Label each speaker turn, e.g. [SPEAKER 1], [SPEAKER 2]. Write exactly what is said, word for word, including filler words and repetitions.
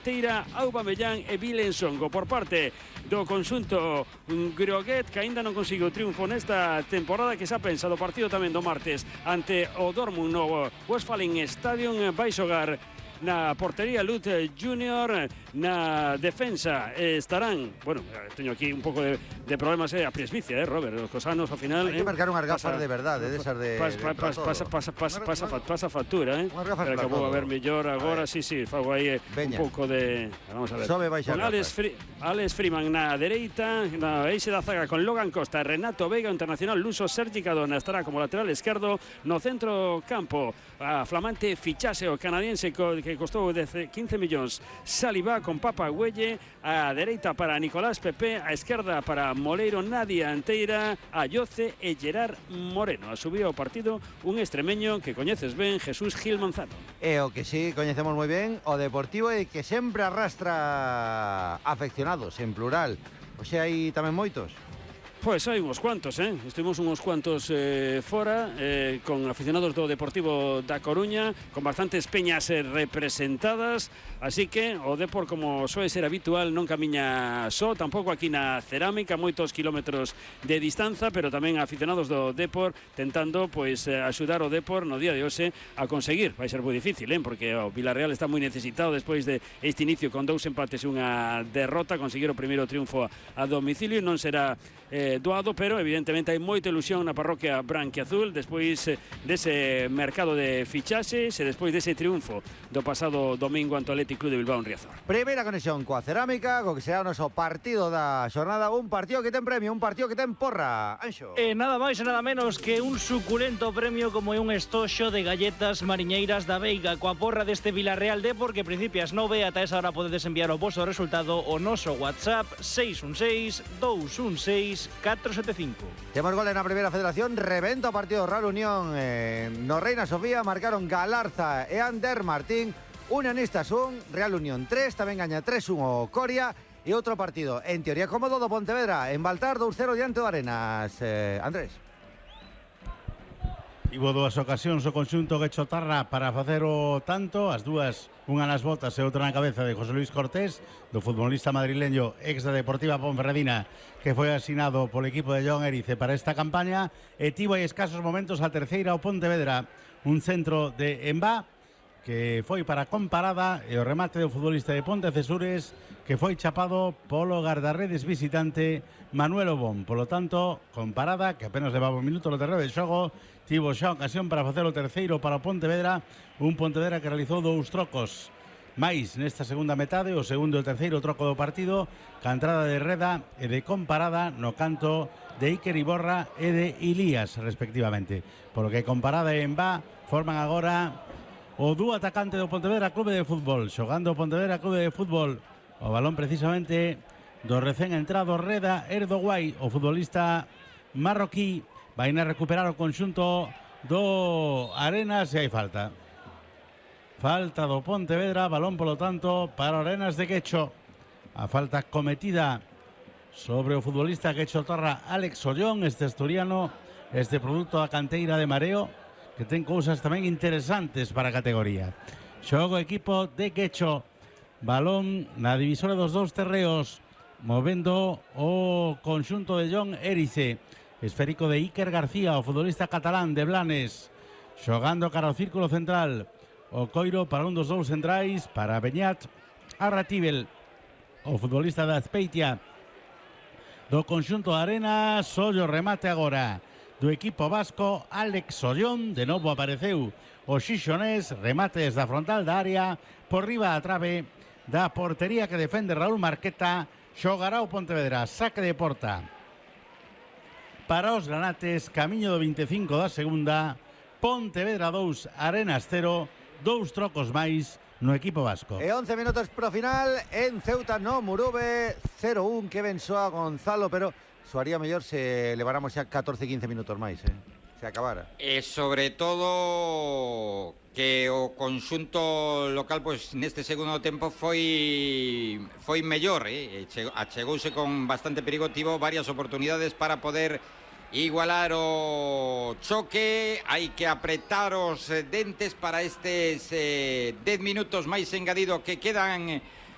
[SPEAKER 1] Teira, Aubameyang e Vilensongo. Por parte do conxunto groguet, que aínda non conseguiu triunfo nesta temporada, que xa pensa do partido tamén do martes ante o Dortmund no Westfalen Stadium. Vai xogar na portería Lut Junior, na defensa estarán, bueno, teño aquí un pouco de, de problemas eh, a presbicia, eh, Robert, os cosanos ao final.
[SPEAKER 2] Hai que marcar unhas gafas
[SPEAKER 1] pasa,
[SPEAKER 2] de verdade, desas de,
[SPEAKER 1] pas,
[SPEAKER 2] de
[SPEAKER 1] pas, pas, pasa, pasa, pasa, pasa, pasa factura, eh. Pero que vou a ver mellor agora, sí, sí, fago aí un pouco de, vamos a ver.
[SPEAKER 2] Sobe baixa
[SPEAKER 1] con Alex, Fri, Alex Freeman na dereita, na eixe da zaga con Logan Costa, Renato Veiga, internacional luso, Sergi Cadona estará como lateral esquerdo, no centro campo a flamante fichaxe o canadiense que costou quince millóns Saliba con Papa Güelle, a dereita para Nicolás Pepe, a esquerda para Moleiro, Nadia Anteira, Ayoce e Gerard Moreno. A subido ao partido un extremeño que coñeces ben, Jesús Gil Manzano.
[SPEAKER 2] E o que sí coñecemos moi ben, o Deportivo, e que sempre arrastra afeccionados, en plural. Oxe, hai tamén moitos.
[SPEAKER 1] Pois hai uns cuantos, eh? Estivemos uns cuantos eh, fora, eh, con aficionados do Deportivo da Coruña, con bastantes peñas eh, representadas, así que o Depor, como soe ser habitual, non camiña só, tampouco aquí na Cerámica, moitos kilómetros de distanza, pero tamén aficionados do Depor tentando pois eh, axudar o Depor no día de hoxe a conseguir. Vai ser moi difícil, eh? Porque o Villarreal está moi necesitado despois de este inicio con dous empates e unha derrota, conseguir o primeiro triunfo a domicilio. Non será eh, doado, pero evidentemente hai moita ilusión na parroquia branquiazul despois eh, dese mercado de fichaxes e despois dese triunfo do pasado domingo ante o Athletic Club de Bilbao en Riazor.
[SPEAKER 2] Primeira conexión coa Cerámica, co que será o noso partido da xornada, un partido que ten premio, un partido que ten porra. Anxo.
[SPEAKER 3] E nada máis e nada menos que un suculento premio como é un estoxo de galletas mariñeiras da Veiga coa porra deste Villarreal Depor, que principias nove, ata esa hora podedes enviar o vosso resultado o noso WhatsApp seis un seis, dous un seis, catro sete cinco.
[SPEAKER 2] Temos goles na primeira federación, rebenta o partido Real Unión eh, no Reina Sofía, marcaron Galarza e Ander Martín, Unionistas un, Real Unión tres, tamén gaña tres un o Coria, e outro partido, en teoría cómodo, do Pontevedra, en Baltar dous cero diante do Arenas. eh, Andrés.
[SPEAKER 4] Tivo dúas ocasións o conxunto Guechotarra para facer o tanto, as dúas, unha nas botas e outra na cabeza de José Luis Cortés, do futbolista madrileño ex da Deportiva Ponferradina, que foi asinado polo equipo de John Erice para esta campaña, e tivo aí escasos momentos a terceira o Pontevedra, un centro de Embá, que foi para Comparada, e o remate do futbolista de Pontecesures, que foi chapado polo guardarredes visitante Manuel Obón. Polo tanto, Comparada, que apenas levaba un minuto no terreno de xogo, tivo xa ocasión para facer o terceiro para o Pontevedra, un Pontevedra que realizou dous trocos máis nesta segunda metade, o segundo e o terceiro troco do partido, ca entrada de Reda e de Comparada no canto de Iker Iborra e de Ilías, respectivamente. Por lo que Comparada e Embá forman agora o dúo atacante do Pontevedra Clube de Fútbol, xogando o Pontevedra Clube de Fútbol, o balón precisamente do recén entrado Reda Erdoguai, o futbolista marroquí. Vai a recuperar o conxunto do Arenas e hai falta. Falta do Pontevedra, balón polo tanto para Arenas de Quecho. A falta cometida sobre o futbolista Quechotarra Alex Ollón, este asturiano, este produto da canteira de Mareo, que ten cousas tamén interesantes para a categoría. Xogo equipo de Quecho, balón na divisora dos dous terreos, movendo o conxunto de John Erice, esférico de Iker García, o futbolista catalán de Blanes, xogando cara ao círculo central, o coiro para un dos dous centrais, para Beñat Arratibel, o futbolista da Azpeitia do conxunto de Arenas. Ollo remate agora do equipo vasco, Alex Ollón, de novo apareceu o xixonés, remate desde a frontal da área, por riba a trave da portería que defende Raúl Marqueta. Xogará o Pontevedra, saque de porta para os granates, camiño do vinte e cinco da segunda. Pontevedra dous, Arenas cero, dous trocos máis no equipo vasco.
[SPEAKER 2] E once minutos pro final, en Ceuta no Murube, cero un, que ben soa Gonzalo, pero soaría mellor se leváramos xa catorce quince minutos máis, eh? Se acabara.
[SPEAKER 5] E sobre todo que o conxunto local pois neste segundo tempo foi foi mellor, eh? Achegouse con bastante perigo, tivo varias oportunidades para poder igualar o choque. Hai que apretar os dentes para estes eh, dez minutos máis engadido que quedan